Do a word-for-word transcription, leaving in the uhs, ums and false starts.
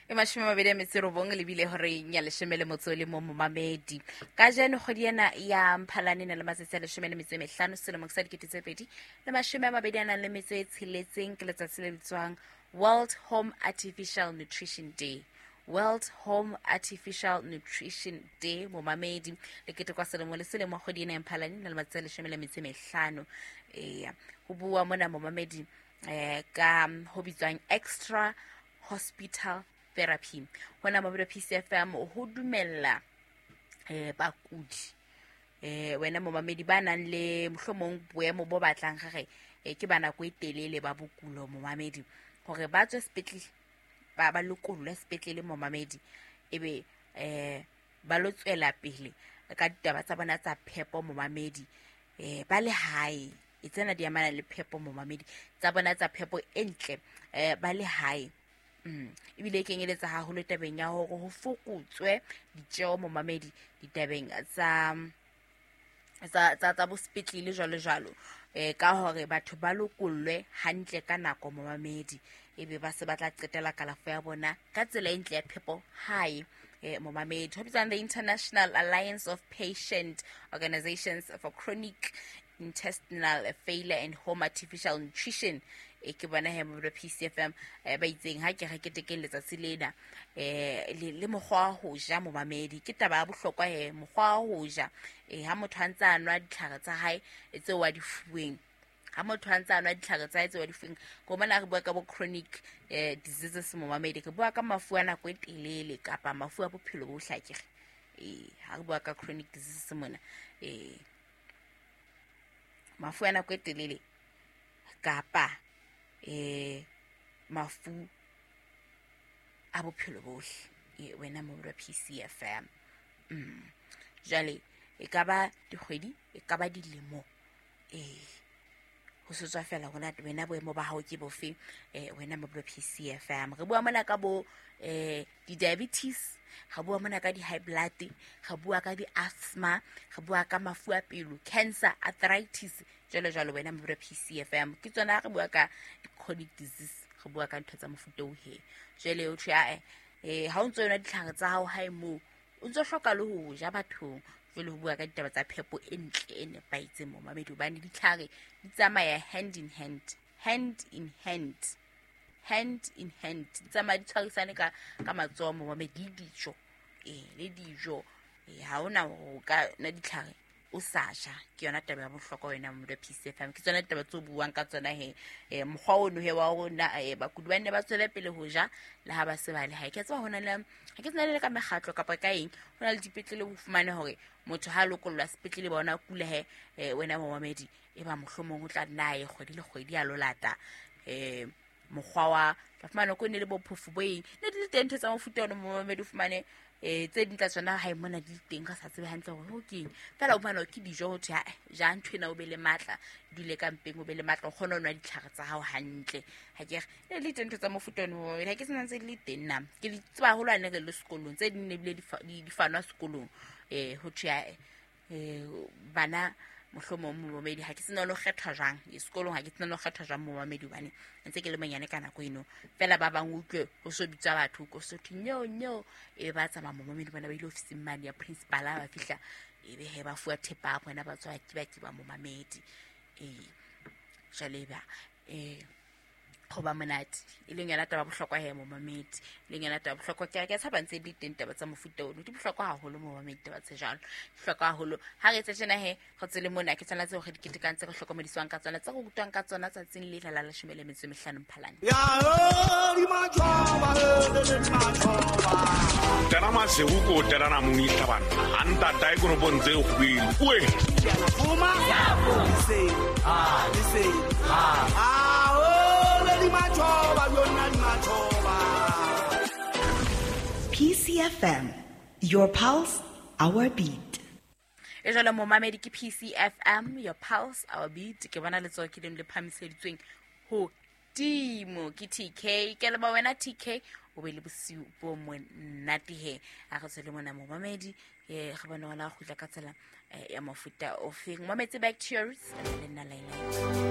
E mashome a mabedi a metso e robong lebile horeng ya leshome le motso le mo momamedi. Kajeno kgwedi ena ya Mphalane e na le matsatsi a leshome le metso e mehlano selemong sa dikete tse pedi le mashome a mabedi a nang le metso e tsheletseng, ke letsatsi le bitswang World Home Artificial Nutrition Day. World Home Artificial Nutrition Day momamedi, le ketekwa selemo le selemo kgwedi ena ya Mphalane e na le matsatsi a leshome le metso e mehlano. Eya, ho bua mona momamedi eh ka ho bitswang extra hospital therapy. Hona mobile P C F M ho dumella eh bakudi eh wena momamedi ba nang le mohlomong boemo bo batlang gage eh ke ba nako e telele ba bokulo momamedi, hore ba tswe sepetlele, ba ba lokollwe sepetlele momamedi, ebe eh ba lo tswela pele ka ditaba tsa bona tsa phepo momamedi, eh ba le hae. E tsena di amana le phepo momamedi, tsa bona tsa phepo e ntle eh ba le hae. Mm. Ebile e kenyeletsa haholo tabeng ya hore ho fokotswe ditjeo momamedi ditabeng tsa tsa tsa tsa bo sepetlele jwalo jwalo, eh ka hore batho ba lokollwe hantle ka nako momamedi, ebe ba se ba tla qetela kalafo ya bona ka tsela e ntle ya phepo hae. Eh momamedi, ho bitswang the International Alliance of Patient Organizations for Chronic Intestinal Failure and Home Artificial Nutrition. E ke bona he mo P C F M eh, ba itseng ha ke re ketekeng letsatsi lena eh le, le mokgwa wa ho ja momamedi. Ke taba ya bohlokwa he mokgwa wa ho ja, eh ha motho a ntse a nwa ditlhare tsa hae tseo a di fuweng, ha motho a ntse a nwa ditlhare tsa hae tseo a di fuweng, ko mona re bua ka bo chronic eh diseases momamedi, re bua ka mafu a nako e telele kapa mafu a bophelo bo hlakere. Eh ha re bua ka chronic diseases mona, eh mafu a nako e telele kapa eh mafu a bophelo bohle, e wena mo P C F M. Mm. Jwale e ka ba dikgwedi, e ka ba dilemo, eh ho se tswa fela hona wena boemo ba hao ke bofe, eh wena mo P C F M. Re bua mona ka bo eh di-diabetes, re bua mona ka di-high blood, re bua ka di-asthma, re bua ka mafu a pelo, cancer, arthritis, jwalo jwalo wena mo P C F M. Ke tsona re bua ka chronic disease, re bua ka ntho tsa mofuta o he. Jwale o thwe ae eh ha o ntso yona ditlhare tsa hao hae moo, o ntso hloka le ho ja bathong. Jwale ho bua ka ditaba tsa phepo e ntle e nepahetseng momamedi, hobane ditlhare di tsamaya hand in hand, hand in hand, hand in hand, di tsamaya di tshwarisane ka ka matsoho momamedi, le dijo, eh le dijo. Eh ha hona ho ka na ditlhare o sa ja. Ke yona taba ya bohlokwa wena mo P C F M. Ke tsona ditaba tseo buang ka tsona he eh mokgwa ono he wa rona, eh bakudi ba nne ba tswele pele ho ja le ha ba se ba le hae. Ke tseba hona le ha ke tsena le ka mekgatlo kapa ka eng, hona le dipetlele ho fumane hore motho ha lokollwa sepetlele ba ona kula he eh wena momamedi, e ba mohlomong o tla nna ye kgwedi le kgwedi a lolata eh mokgwa wa tla fumana ko ne le bophofu bo eng, ne di le teng ntho tsa mofuta ono momamedi, o fumane eh tse ding tsa tsona hae mona di teng ka sa tsebe hantle hore ho keng, fela o fumana ke dijo ho thwe ha ja ntho ena o be le matla, dule ka mpeng o be le matla, o kgone ho nwa ditlhare tsa hao hantle. Ha ke re ne le teng ntho tsa mofuta ono, ha ke sena ntse di le teng nna ke di tseba haholo ha ne re le sekolong, tse ding ne bile di di fanwa sekolong eh ho thwe ha eh bana mohlomong momamedi ha ke sena lo kgethwa jwang e sekolong, ha ke sena lo kgethwa jwang momamedi, hobane ntse ke le monyane ka nako eno. Fela ba bang utlwe ho so bitswa batho ko so thwe nyo nyo, e ba tsamaya momamedi bona ba ile ofising mane ya principal, ba fihla e be he ba fuwa thepa ya bona, ba tswa ke ba ke ba momamedi. Eh jwale ba eh ho ba monate, e leng yona taba bohlokwa he momamedi, e leng yona taba bohlokwa. Ke ke tshaba ntse di teng taba tsa mofuta ono, di bohlokwa haholo momamedi, taba tse jwalo di bohlokwa haholo. Ha re etse tjena he re tsele mona, ke tsona tseo re di ketekang, tse re hlokomediswang ka tsona, tse re rutwang ka tsona tsatsing le la leshome le metso e mehlano Mphalane. Ya di majoba le majoba tana masego ko tana mong itlhabana a ntata e koropong tse kgwele oe fuma se ah se ah P C F M, your pulse, our beat. E jwale momamedi ke P C F M, your pulse, our beat. Ke bona letsoho ke leng le phamiseditsweng ho timo ke T K. Ke leboha wena T K, o be le bosiu bo monate he. A re tswele mona momamedi, eh re bone hona kgutla ka tsela ya mofuta ofeng. Mametse back to your roots le nna Laila.